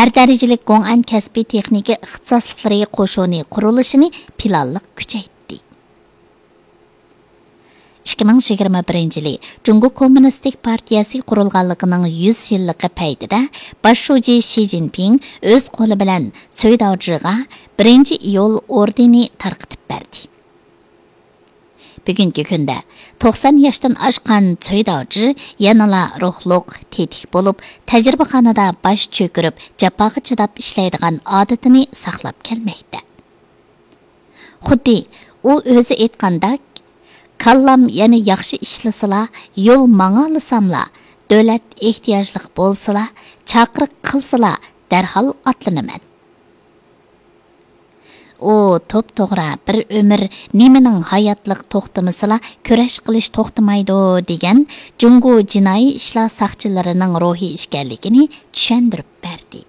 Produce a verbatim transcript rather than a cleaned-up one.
ئەر دەرىجىلىك گوڭئەن كەسپىي تېخنىكا ئىختىساسلىقلىرى قوشۇنى قۇرۇلۇشىنى پىلانلىق كۈچەيتتى. ئىككى مىڭ يىگىرمە بىرىنچى يىلى جۇڭگو كوممۇنىستىك پارتىيەسى قۇرۇلغانلىقىنىڭ يۈز يىللىقى پەيتىدە باش شۇجى شى جىنپىڭ ئۆز قولى بىلەن سۆيداۋجىغا بىرىنچى ئىيۇل ئوردېنى تارقىتىپ بەردى. بۈگۈنكى كۈندە توقسان ياشتىن ئاشقان سۆيداۋجى يەنىلا روھلۇق، تېتىك بولۇپ، تەجرىبىخانىدا باش چۆكۈرۈپ، جاپاغا چىداپ ئىشلەيدىغان ئادىتىنى ساقلاپ كەلمەكتە. خۇددى ئۇ ئۆزى ئېيتقاندەك، «كاللام يەنە ياخشى ئىشلىسىلا، يول ماڭالىساملا، دۆلەت ئېھتىياجلىق بولسىلا، چاقىرىق قىلسىلا، دەرھال ئاتلىنىمەن.» ئۇ توپتوغرا بىر ئۆمۈر نېمىنىڭ ھاياتلىق توختىمىسىلا كۈرەش قىلىش توختىمايدۇ دېگەن جۇڭگو جىنايى ئىشلار ساقچىلىرىنىڭ روھى ئىكەنلىكىنى چۈشەندۈرۈپ بەردى.